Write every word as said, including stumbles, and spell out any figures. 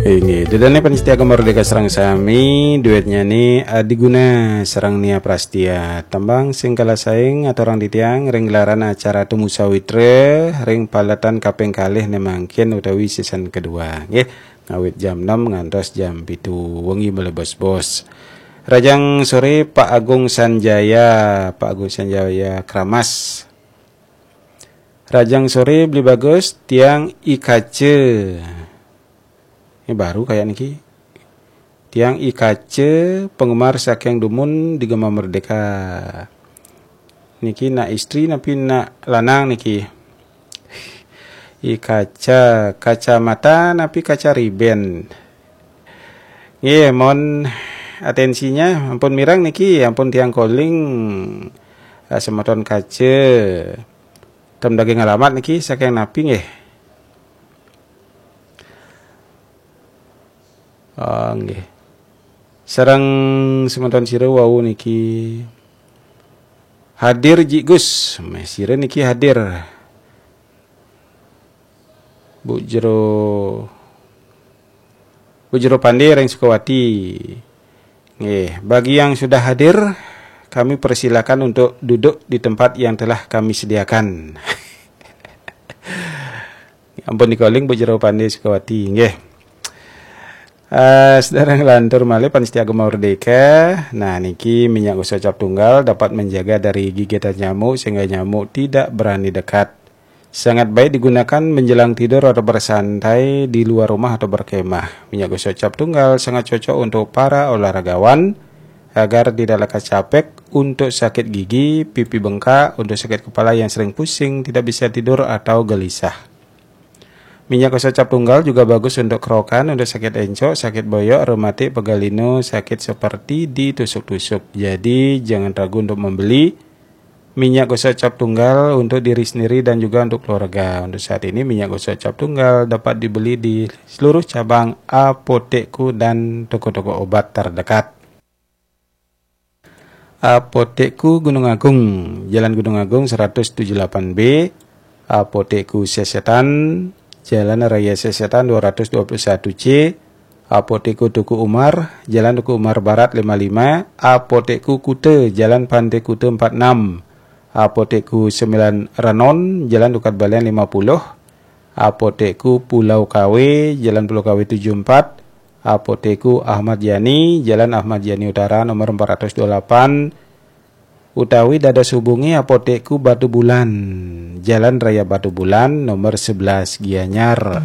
Inggih, dedane panitia Gema Merdeka sareng sami, duetnya ni Adiguna sareng Nia Prastia. Tembang sing kala saing aturang titiang ring gelaran acara Tumu Sawitra ring paletan kaping kalih ne mangkin utawi season kedua. Nggih, ngawit jam enam ngantos jam pitu wengi mele bos-bos. Rajang sore Pak Agung Sanjaya, Pak Agung Sanjaya Kramas. Rajang sore Beli Bagus, tiang I Kace. Ini baru kayak niki. Tiang I Kace, penggemar saking dumun di Gema Merdeka. Niki nak istri napi nak lanang niki? I Kaca, kacamata napi kaca riben? Nggih, mohon atensinya, ampun mireng niki, ampun tiang calling, eh, semeton Kace. Tem daging alamat niki saking napi nggih? Ah, nggih. Sareng semeton sira wau niki hadir Jik Gus. Meh, sira niki hadir. Bu Jero, Bu Jero Pande ring Sukawati. Nggih, bagi yang sudah hadir, kami persilakan untuk duduk di tempat yang telah kami sediakan. Ampun di calling Bu Jero Pande Sukawati, nggih. Eh, sedherek lantur malih panitia Gema Merdeka. Nah, niki minyak gosok cap tunggal dapat menjaga dari gigitan nyamuk sehingga nyamuk tidak berani dekat. Sangat baik digunakan menjelang tidur atau bersantai di luar rumah atau berkemah. Minyak gosok cap tunggal sangat cocok untuk para olahragawan agar tidak lekas capek, untuk sakit gigi, pipi bengkak, untuk sakit kepala yang sering pusing, tidak bisa tidur atau gelisah. Minyak gosok cap tunggal juga bagus untuk kerokan, untuk sakit encok, sakit boyok, rematik, pegal linu, sakit seperti ditusuk-tusuk. Jadi, jangan ragu untuk membeli minyak gosok cap tunggal untuk diri sendiri dan juga untuk keluarga. Untuk saat ini, minyak gosok cap tunggal dapat dibeli di seluruh cabang Apotekku dan toko-toko obat terdekat. Apotekku Gunung Agung, Jalan Gunung Agung seratus tujuh delapan B, Apotekku Sesetan, Jalan Raya Sesetan dua ratus dua puluh satu C, Apotekku Tuku Umar, Jalan Tuku Umar Barat lima lima, Apotekku Kute, Jalan Pantai Kute empat enam, Apotekku Sembilan Renon, Jalan Tukad Balian lima puluh, Apotekku Pulau Kawe, Jalan Pulau Kawe tujuh empat, Apotekku Ahmad Yani, Jalan Ahmad Yani Utara nomor empat ratus dua puluh delapan, utawi dados hubungi Apotekku Batu Bulan, Jalan Raya Batu Bulan nomor sebelas Gianyar.